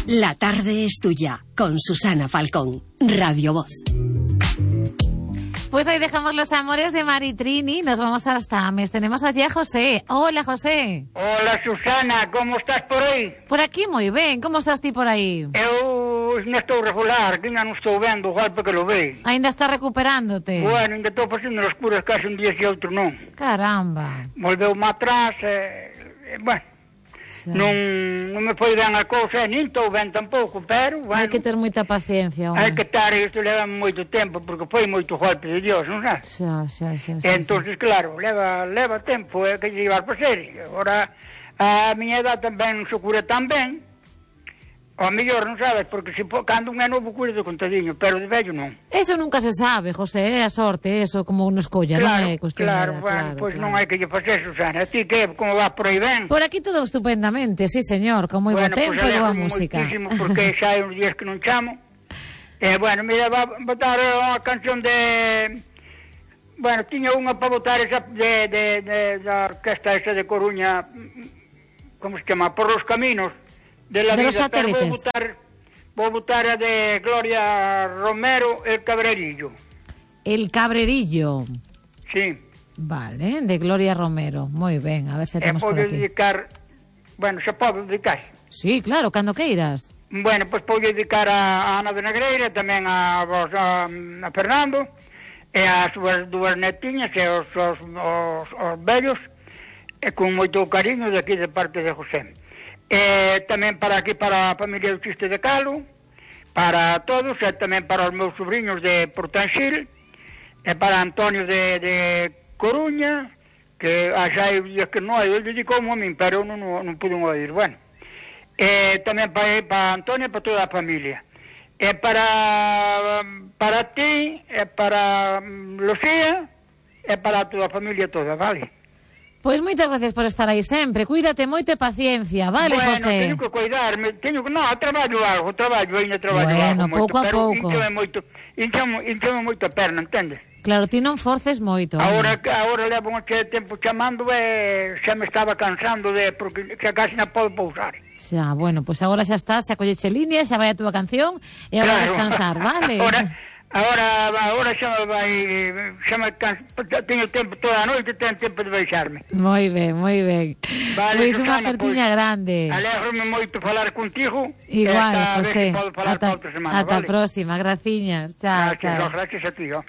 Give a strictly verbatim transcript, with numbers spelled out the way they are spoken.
La tarde es tuya, con Susana Falcón, Radio Voz. Pues ahí dejamos los amores de Maritrini, nos vamos hasta Ames. Tenemos allí a José. Hola, José. Hola, Susana, como estás por aí? Por aquí moi ben, como estás ti por aí? Eu non estou regular, que ainda non estou vendo o golpe que lo ve. Ainda estás recuperándote? Bueno, ainda estou facendo as curas case un día e outro non. Caramba. Volveu-me atrás, e, e, bueno, sí. non, non me foi ben a cousa, nin estou ben tampouco, pero, bueno... Hai que ter moita paciencia, hai que estar, isto leva moito tempo, porque foi moito golpe de Dios, non sabes? Xa, xa, xa, xa. Entón, claro, leva, leva tempo, é que llevar para ser. Agora, a miña edad tamén non se cura tan ben, ou mellor, non sabes, porque se cando un é novo cura de contadiño, pero de vello non. Eso nunca se sabe, José, é a sorte, eso como uno escolla, claro, non é cuestión claro, de... bueno, claro, pois claro. non hai que lle facer, Susana. A ti que, como vas por aí ben? Por aquí todo estupendamente, sí, señor, con moi bueno, bo tempo pues e boa música. Moitísimo, porque xa hai uns días que non chamo. Eh, bueno, mira, va a botar unha canción de... Bueno, tiña unha para botar esa de, de, de, da orquesta esa de Coruña, como se chama, Por los Caminos de la de Vida, pero vou botar, vou botar a de Gloria Romero, El Cabrerillo. El Cabrerillo. Sí. Vale, de Gloria Romero. Moi ben, a ver se temos por aquí. dedicar, bueno, se pode dedicar. Sí, claro, cando queiras. Bueno, pois pues, vou dedicar a Ana de Negreira, tamén a vos, a, a Fernando, e as súas dúas netiñas e os, os, os, os vellos, e con moito cariño de aquí de parte de José. E tamén para aquí, para a familia do Chiste de Calo, para todos, e tamén para os meus sobrinhos de Portanxil, e para Antonio de, de Coruña, que xa hai días que non hai, ele dedicoume a min, pero eu non, non, non pude oír, bueno. E tamén para, para Antonio e para toda a familia. E para para ti, e para Lucía, e para toda a familia toda, vale? Pois moitas gracias por estar aí sempre. Cuídate moito e paciencia, vale, bueno, José? Bueno, teño que cuidarme, teño que... No, traballo algo, traballo, ainda traballo bueno, algo pouco moito, a pero pouco. Inchame moito, inchame, inchame moito a perna, entendes? Claro, ti non forces moito. Agora, agora levo un che tempo chamando e xa me estaba cansando de... porque xa casi non podo pousar. Xa, bueno, pois pues agora xa estás, xa colleche línea, xa vai a túa canción e agora claro. Descansar, vale? Agora, agora, agora xa me vai... xa me canso, teño tempo toda a noite, teño tempo de baixarme. Moi ben, moi ben. Vale, pois unha pues, partiña grande. Alégrome moito falar contigo. Igual, José. Ata, ata a próxima, graciñas. Chao, gracias, chao. Gracias a ti, ó.